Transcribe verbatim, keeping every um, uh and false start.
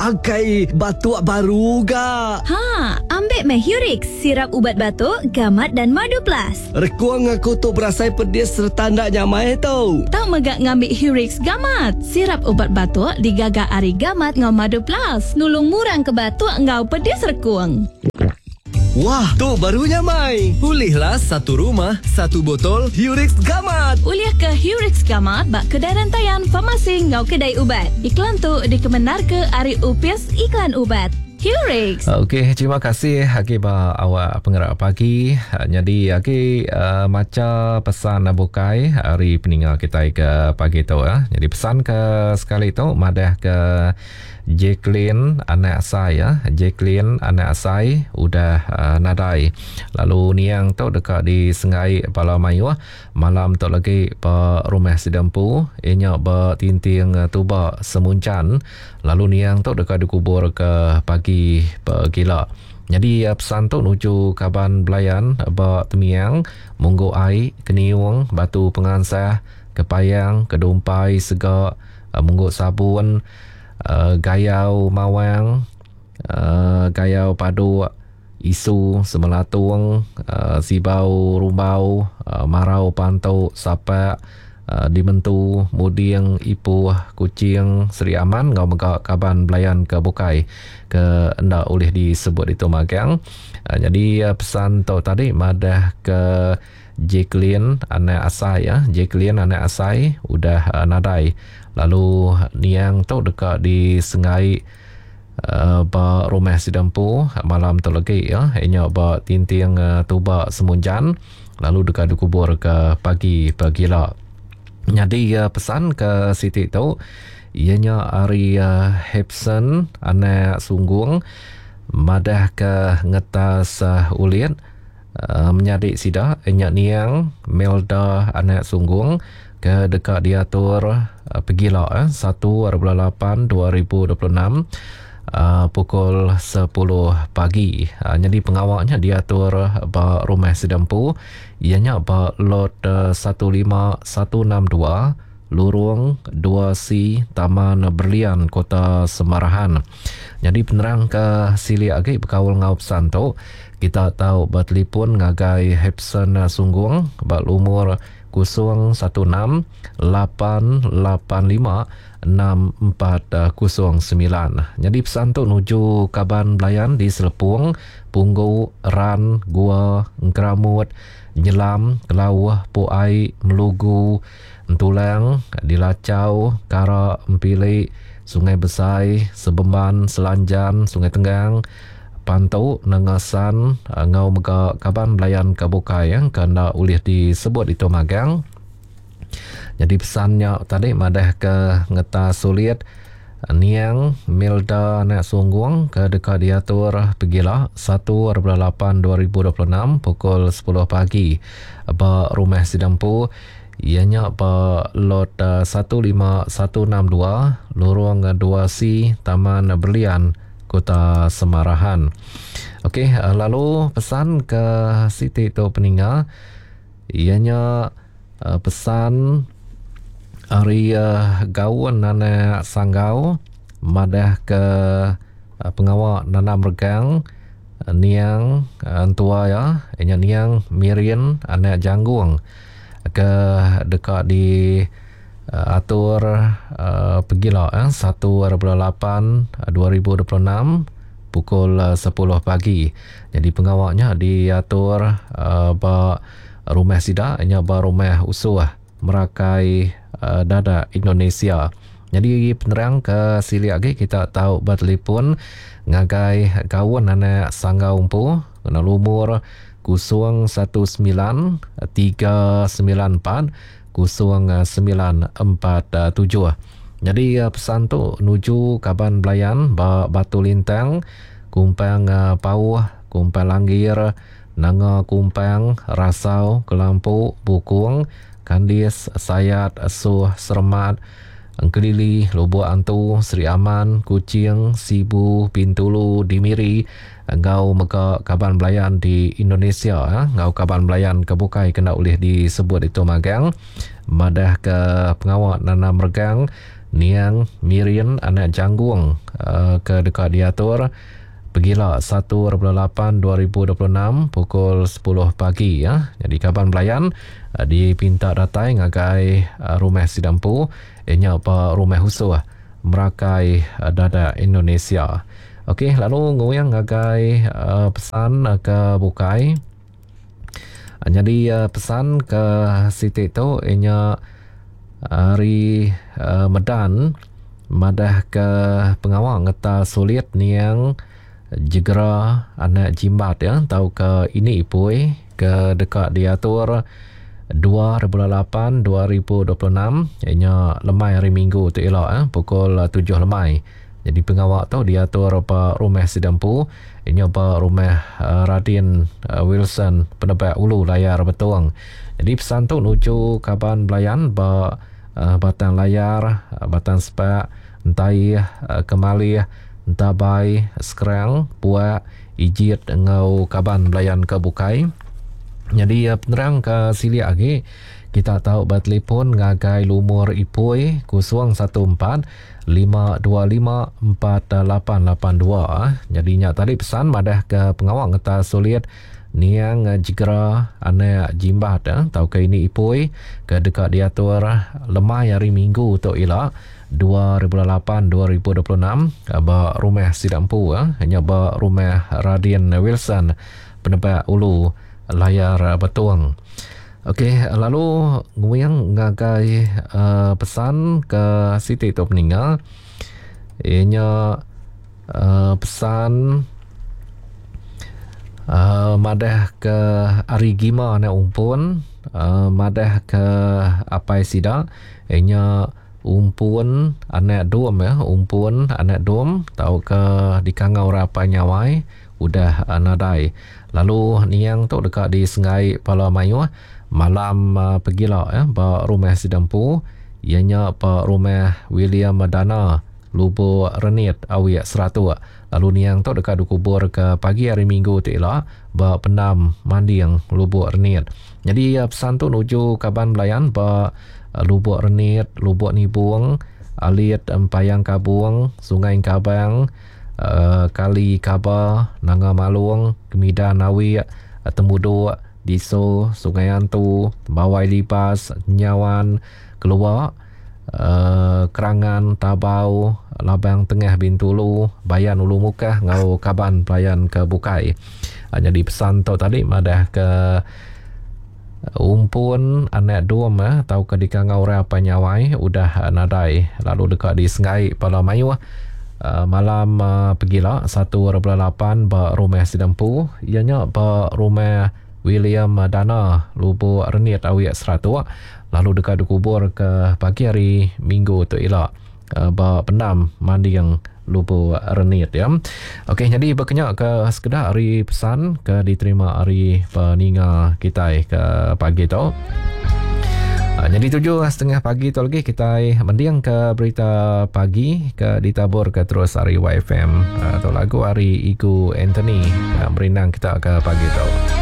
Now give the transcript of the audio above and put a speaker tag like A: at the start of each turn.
A: Angkai batuk baru ga.
B: Ha, ambil meh Hurix, sirap ubat batuk, gamat dan madu plus.
A: Rekuang aku tu berasai pedis serta ndak nyamai tu.
C: Tau megak ngambil Hurix gamat. Sirap ubat batuk digaga ari gamat ngau madu plus. Nulung murang ke batuk ngau pedis rekuang.
A: Wah, tu baru nyamai.
D: Pulihlah satu rumah, satu botol
A: Hurix Gamat.
C: Ulih ke Hurix Gamat bak kedai rantaian farmasi ngau kedai ubat. Iklan tu dikemenar ke ari Upis Iklan Ubat. Hurix.
E: Okey, terima kasih agi ba awak pengerak pagi. Jadi agi uh, maca pesan bukai hari peningal kita ke pagi tu ya. Jadi pesan ke sekali tu madah ke Jacqueline anak saya, Jacqueline anak saya udah uh, nadai. Lalu niang tu dekat di Sengai Pala Mayuh malam tu lagi pe rumah Sidempu ianya bertinting tuba Semuncan. Lalu niang tu dekat dikubur ke pagi pegila. Jadi pesan tu nuju kaban belayan ba Temiang, Munggu Ai, Keniung, Batu Pengansah, Kepayang, Kedumpai, Segak, Munggu Sabun, Uh, Gayau Mawang, uh, Gayau Paduk, Isu Semelatung, uh, Sibau Rumbau, uh, Marau Pantuk, Sapak, uh, Dimentu, Muding, Ipuh, Kuching, Seri Aman, ngau mega kaban belayan ke bukai ke ndak boleh disebut itu magang. Uh, jadi uh, pesan tu tadi madah ke Jacqueline anak asai ya, Jacqueline anak asai udah uh, nadai. Lalu niang tu dekat di Sengai uh, ba rumah Sidempu malam tu lagi ya, inya ba tinting uh, tuba Semunjan lalu dekat dikubur ke pagi pagila. Jadi uh, pesan ke Siti tu ianya ari uh, Hepson anak Sunggung madah ke ngetas uh, ulit uh, menyadik sida inya niang Melda anak Sunggung ke dekat diatur uh, pegila eh, satu lapan dua ribu dua puluh enam uh, pukul sepuluh pagi. Uh, jadi pengawalnya diatur ba rumah Sidempu ianya ba lot uh, satu lima satu enam dua Lurung dua C Taman Berlian Kota Semarahan. Jadi penerang ke silik agi berkaul ngau pesan tu kita tahu bertelefon ngagai Hepson Sunggung ba umur kosong satu enam lapan lapan lima enam empat kosong sembilan. Jadi pesan tu nuju kaban belayan di Selepung, Punggu, Ran, Gua, Engkeramut, Nyelam, Kelauh, Puai, Melugu, Entulang, Dilacau, Kara, Empilik, Sungai Besai, Sebemban, Selanjan, Sungai Tenggang, Pantu, Nengasan, ngau mega kaban belayan ke bukai yang kena ulih disebut itu magang. Jadi pesannya tadi madah ke ngeta sulit niang Milda anak Sunggung ke dekat diatur pegila satu lapan dua ribu dua puluh enam pukul sepuluh pagi ba rumah Sidempu ianya ba lot satu lima satu enam dua Lorong dua C Taman Berlian Kota Semarahan. Okey, lalu pesan ke Siti tu peninga ianya pesan ari gaun anak Sanggau madah ke pengawak nanam regang niang entua ya ianya niang Mirin anak Janggung ke dekat di atur uh, pegila eh, satu lapan dua ribu dua puluh enam pukul sepuluh pagi. Jadi pengawaknya diatur uh, ba rumah sida nya ba rumah usuh Merakai uh, Dada Indonesia. Jadi penerang ke silik lagi kita tahu bertelefon ngagai kawan anak Sanggau Empu kena lumur kosong satu sembilan tiga sembilan empat kosong sembilan empat tujuh. Jadi pesan tu nuju kaban belayan ba Batu Lintang, Kumpang Pauh, Kumpang Langgir, Nanga Kumpang, Rasau, Kelampu, Bukung, Kandis, Sayat, Suh, Sermat, Engkelili, Lubuk Antu, Seri Aman, Kuching, Sibu, Pintulu, Dimiri, ngau mega kaban belayan di Indonesia, ha? Ngau kaban belayan ke bukai kena boleh disebut itu magang. Madah ke pengawak nanam regang Niang Mirin anak Janggung uh, ke dekat diatur pegila satu lapan dua ribu dua puluh enam pukul sepuluh pagi ya. Jadi kaban belayan uh, dipinta datai ngagai uh, rumah Sidampu inya pa rumah Husuh Merakai uh, Dada Indonesia. Okey, lalu nguyang ngagai uh, pesan uh, ke bukai. Uh, jadi uh, pesan ke siti tu inya hari uh, Medan madah ke pengawal ngeta sulit niang jegera anak jimbat ya tau ke ini ipui ke dekat diatur dua ribu lapan dua ribu dua puluh enam ianya lemai hari Minggu tu elok eh, pukul tujuh lemai. Jadi pengawal tu diatur pa rumah Sidampu ianya pa rumah uh, Radin uh, Wilson Penebak Ulu Layar Betuang. Jadi pesan tu nuju kaban belayan ba uh, Batang Layar, uh, Batang Sepak, Entai, uh, Kemalih, Entabai, Sekerang, Puak, Ijit ngau kaban belayan ke bukai. Jadi penerang ke siliak lagi kita tahu bertelefon ngagai lumur ipui kosong satu empat lima dua lima empat lapan lapan dua. Jadi nyak tadi pesan madah ke pengawal ngeta sulit niang jegera anak jimbat eh, tau ke ini ipui ke dekat diatur lemai hari Minggu tu ila dua ribu lapan dua ribu dua puluh enam ba rumah Sidampu eh, hanya ba rumah Radin Wilson Penebak Ulu Layar Betuang. Okey, lalu nguyang ngagai uh, pesan ke siti tu peninggal ianya uh, pesan Uh, madah ke ari gima anak umpun, uh, madah ke apai sida ianya umpun anak dom ya, umpun anak dom tau ke dikangau rapai nyawai udah uh, nadai. Lalu niang tu dekat di Sengai Pala Mayuh malam uh, pegila ya ba rumah Sidampu ianya ba rumah William Madana Lubuk Renit Awiak Seratuk. Lalu niang tu dekat dikubur ke pagi hari Minggu tu ila ba pendam Manding Lubuk Renit. Jadi pesan tu nuju kaban belayan ba Lubuk Renit, Lubuk Nibung, Alit Empayang Kabung, Sungai Kabang, uh, Kali Kaba, Nanga Malung, Kemidan Awiak, Temuduk, Diso, Sungai Antu, Bawai Libas, Nyawan, Keluak, Uh, Kerangan, Tabau, Labang Tengah Bintulu, Bayan Ulu Mukah ngau kaban pelayan ke Bukai. Uh, jadi pesan tu tadi madah ke umpun anak dom eh, tau ke dikangau orang apa nyawai udah nadai lalu dekat di Sengai Pala Mayuh uh, malam uh, pegila satu lapan ba rumah Sidampu ianya ba rumah William Dana Lubuk Renit Awiak Seratuk lalu dekat dikubur ke pagi hari Minggu tu ila uh, ba pendam Manding Lubuk Renit ya. Okey, jadi berkenyak ke sekedar hari pesan ke diterima hari peninga kita ke pagi tu. Ha, jadi tujuh setengah pagi tu lagi kita mendiang ke berita pagi ke ditabur ke terus hari Y F M atau lagu hari Igu Anthony merindang kita ke pagi tu.